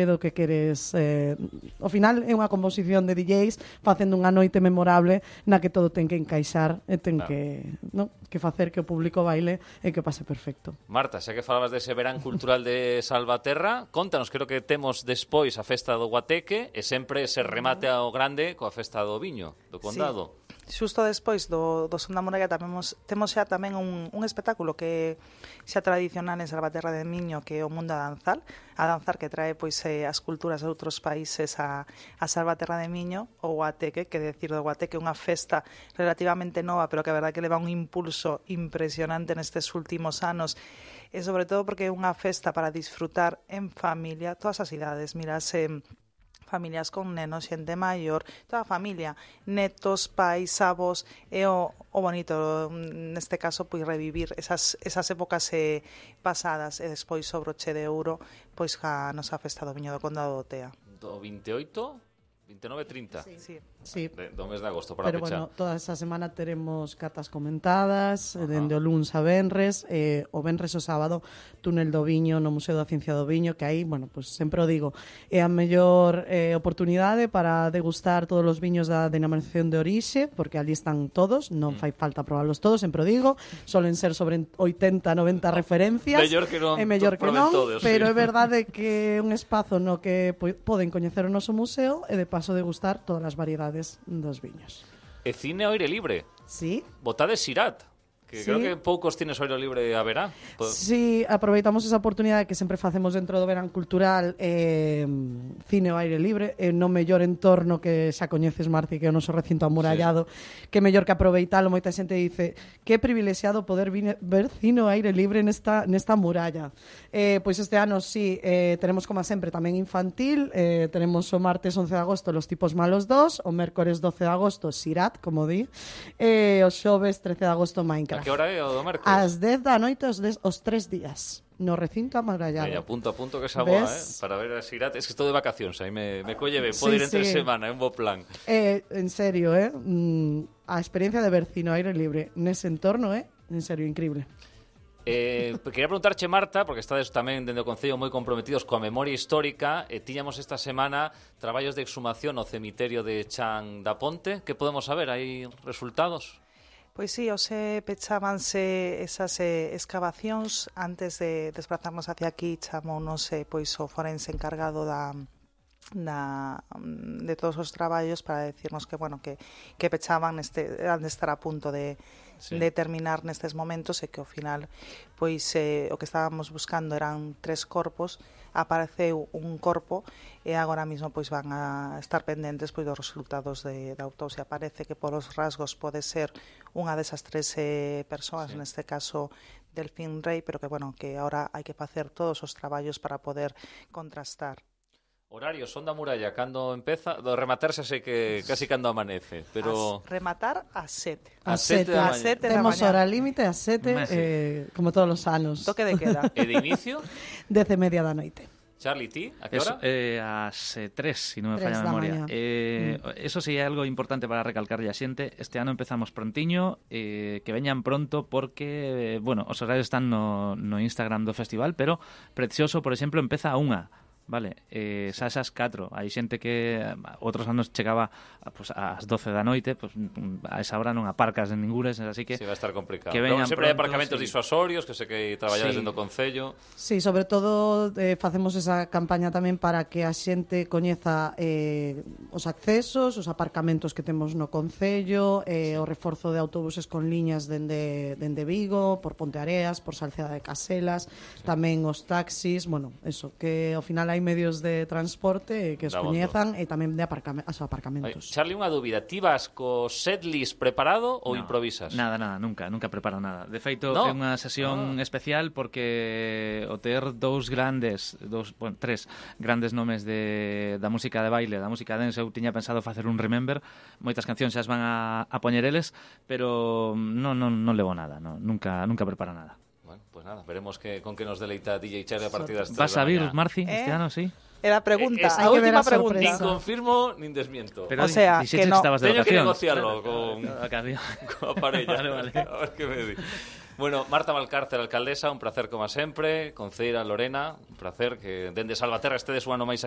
do que queres. Ao final é unha composición de DJs facendo unha noite memorable na que todo ten que encaixar e ten que facer que o público baile e que pase perfecto. Marta, xa que falabas dese verán cultural de Salvaterra, contanos, creo que temos despois a festa do Guateque e sempre se remate ao grande coa festa do Viño, do Condado. Sí. Xusto despois do Son da Muralla temos xa tamén un espectáculo que xa tradicional en Salvaterra de Miño, que é o Mundo a danzar que trae pois as culturas de outros países a Salvaterra de Miño, o Guateque, que decir do Guateque, unha festa relativamente nova, pero que a verdad que leva un impulso impresionante nestes últimos anos, e sobre todo porque é unha festa para disfrutar en familia, todas as idades, mirase familias con nenos, xente maior, toda a familia, netos, pais, avós, e o bonito neste caso pois revivir esas épocas pasadas e despois o broche de ouro pois a nosa festa do Viño do Condado do Tea. Do 28, 29 30. Sí. Do mes de agosto para pero pechar. Bueno, toda esa semana teremos catas comentadas, dende o luns a venres, o venres o sábado túnel do Viño no Museo da Ciencia do Viño, que aí, bueno, pues sempre o digo, é a mellor oportunidade para degustar todos os viños da denominación de orixe, porque ali están todos, non fai falta probarlos todos, sempre o digo, solen ser sobre 80, 90 referencias, mellor que non, todos, pero sí. é verdade que é un espazo no que poden coñecer o noso museo e de paso degustar todas as variedades dos viños. E cine ao aire libre. Sí. Botades Sirat, que sí. Creo que poucos cines ao aire libre haberá. Sí, aproveitamos esa oportunidade que sempre facemos dentro do verán cultural, cine ao aire libre, no mellor entorno que xa coñeces, Marci, que é o noso recinto amurallado, sí. Que mellor que aproveitalo. Moita xente dice que privilexiado poder ver cine ao aire libre nesta muralla. Pois este ano sí, tenemos como sempre tamén infantil, tenemos o martes 11 de agosto Los tipos malos 2, o mércores 12 de agosto Sirat, como di, o xoves 13 de agosto Minecraft. A que hora é o do mércores? Ás 10 da noite os 3 días no recinto amurallado. Apunto que esa boa, para ver a Sirat. Es que estou de vacacións, aí me colle ben, pode ir entre semana, é un bo plan. En serio, a experiencia de ver cine ao aire libre nese entorno en serio, increíble. Quería preguntarche, Marta, porque estades tamén dende o Concello moi comprometidos coa memoria histórica, tiñamos esta semana traballos de exhumación no cemiterio de Chan da Ponte. Que podemos saber? Hai resultados? Pois sí, hoxe pechábanse esas excavacións. Antes de desplazarnos hacia aquí, chamounos pois o forense encargado de todos os traballos para decirnos que, bueno, que pechaban han de estar a punto de terminar nestes momentos e que ao final pois o que estábamos buscando eran 3 corpos, apareceu un corpo e agora mesmo pois van a estar pendentes pois dos resultados da autopsia. Parece que polos rasgos pode ser unha desas 3 persoas, neste caso Delfín Rey, pero que, bueno, que agora hai que facer todos os traballos para poder contrastar. Horario, Son da Muralla, cando empeza? Do rematarse sei que casi cando amanece, pero... Rematar a 7. A 7 da mañá. Temos hora límite a 7, como todos os anos. Toque de queda. E de inicio? 10:30 da noite. Charlie, ti? A que hora? Ás 3, se non me falla a memoria. Eso sí é algo importante para recalcarlle a xente. Este ano empezamos prontiño, que veñan pronto porque, bueno, os horarios están no Instagram do festival, pero Precioso, por exemplo, empeza a 1. Vale, xa esas 4. Hai xente que outros anos chegaba pues, ás 12 da noite, pues, a esa hora non aparcas en ningures, así que... Sí, va a estar complicado. Que veñan sempre hai pronto, aparcamentos disuasorios, que sei que traballades dentro do Concello. Sí, sobre todo facemos esa campaña tamén para que a xente coñeza os accesos, os aparcamentos que temos no Concello, o reforzo de autobuses con liñas dende Vigo, por Ponteareas, por Salceda de Caselas, tamén os taxis, bueno, eso, que ao final hai medios de transporte que os coñezan e tamén de aparcamentos. Charlie, unha dúbida, ti vas co setlist preparado ou improvisas? Nada, nunca preparo nada. De feito, é unha sesión especial porque o ter 3 grandes nomes da música de baile, da música dance, eu tiña pensado facer un remember, moitas cancións xa as van a poñer eles, pero non levo nada, nunca preparo nada. Bueno, pues nada, veremos con que nos deleita DJ Charlie a partir das 3 Vas a vir, Marci, este ano, sí? Era a pregunta, a última pregunta. Nin confirmo, nin desmiento. Pero, o sea, que no. Teño que negociarlo coa parella. Vale. A ver que me di. Bueno, Marta Valcárcel, alcaldesa, un placer como sempre. Conceira Lorena, un placer que dende Salvaterra estedes un ano máis aquí